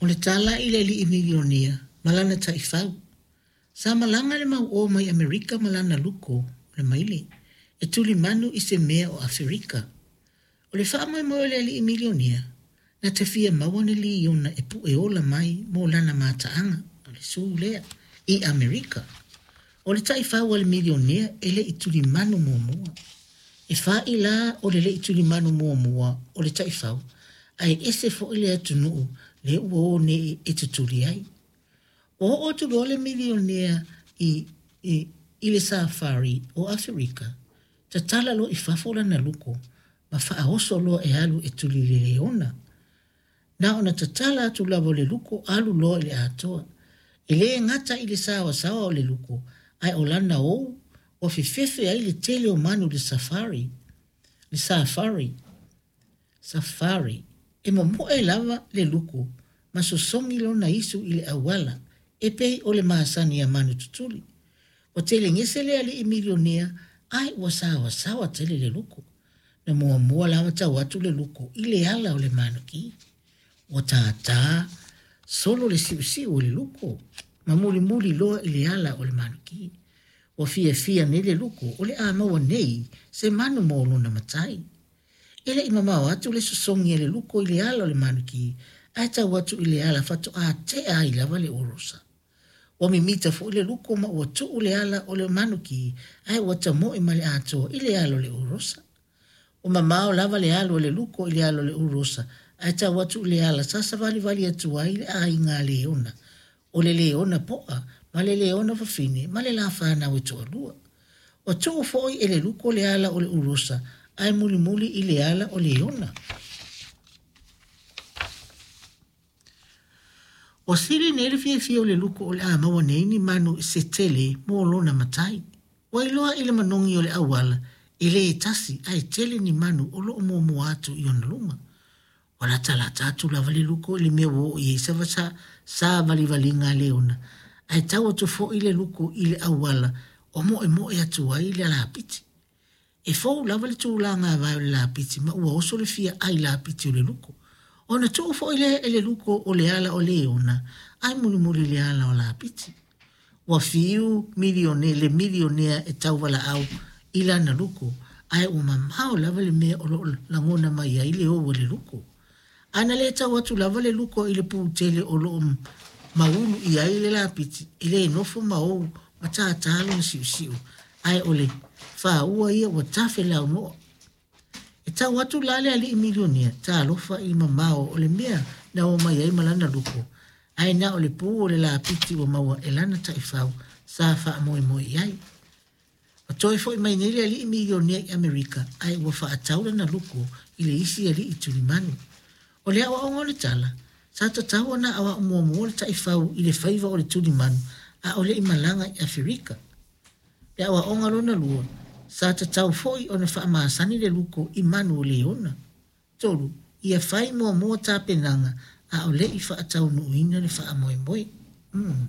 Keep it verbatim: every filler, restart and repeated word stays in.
O le tala i le ali'i milionea ma lana ta'ifau. Sa malaga le mau'ō mai Amerika ma lana luko o le maile e tulimanu i se mea o Aferika. O le fa'amoemoe o le ali'i milionea, na te fia maua ni liona e pu'e ola mai mo lana mata'aga, o le sū lea, i Amerika. O le ta'ifau a le milionea e le'i tulimanu muamua. E fa'i la o le le'i tulimanu muamua o le ta'ifau, ae ese fo'i le atunu'u lea ua o nei e tutuli ai. Ua oo atu loa le milionea i, i, i le safari o Aferika, tatala loa i fafo lana luko ma fa'aoso loa e alu e tuli i le leona. Na ona tatala atu lava o le luko alu loa i le atoa. E lē gata i le saoasaoa o le luko, ae o lana ou ua fefefe ai le tele o manu i le safari. Le safari. Safari. E momo'e lava le luko ma sosogi lona isu i le auala e pei o le masani a manu tutuli. Ua telegese le ali'i milionea ae ua saoasaoa tele le luko. Na muamua lava tau atu le luko i le ala o le manuki. Ua tātā solo le si'usi'u o le luko ma mulimuli loa i le ala o le manuki. Ua fiafia nei le luko o le a maua nei se manu mo lona matai. E le'i mamao atu le sosogi a le luko i le ala o le manuki ae tau atu i le ala fato'a te'a ai lava le orosa. Ua mimita fo'i le luko ma ua tu'u le ala o le manuki ae ua tamo'e ma le atoa i le ala o le orosa. Ua mamao lava le alu a le luko i le ala o le orosa ae tau atu i le ala sa savalivali atu ai le aiga a leona, o le leona po'a ma le leona fafine ma le lā fanau e to'alua. Ua tu'u fo'i e le luko le ala o le orosa ae mulimuli i le ala o leona. Ua sili nei le fiafia o le luko o le a maua nei ni manu se tele mo lona matai. Ua iloa i le manogi o le auala e lē tasi ae tele ni manu o lo'o muamua atu i ona luma. Ua latalata atu lava le luko i le mea ua oo i ai sa, savalivaliga a leona, ae tau atu fo'i le luko i le auala o mo'emo'e atu ai le lapiti. E fou lava le tulaga avae o le lapiti ma ua oso le fia ai lapiti o le luko. Ona tu'u fo'i lea e le luko o le ala o leona ae mulimuli i le ala o lapiti. Ua fiu milione le milionea e tauvala'au i lana luko, ae ua mamao lava le mea o lo'o lagona mai ai le ou a le luko. Ana lē tau atu lava le luko i le pu tele o lo'o maulu i ai le lapiti, e lē nofo ma ou ma tātā lona si'usi'u, ae o le fāua ia ua tafe launo'a. E tau atu la le ali'i milionea, talofa i le mamao o le mea na o mai ai ma lana luko, ae na o le pu o le lapiti ua maua e lana ta'ifau sa fa'amoemoe i ai. Ua toe fo'i mai nei le ali'i milionea i Amerika, ae ua fa'atau lana luko i le isi ali'i tulimanu. O le a'oa'oga o le tala, sa tatau ona a'oa'o muamua le ta'ifau i le faiva o le tulimanu a o le'i malaga i Aferika. Le a'oa'oga lona lua, sa tatau fo'i ona fa'amasani le luko i manu o leona. Tolu, ia fai muamua tapenaga a o le'i fa'ataunu'uina le fa'amoemoe. Mm.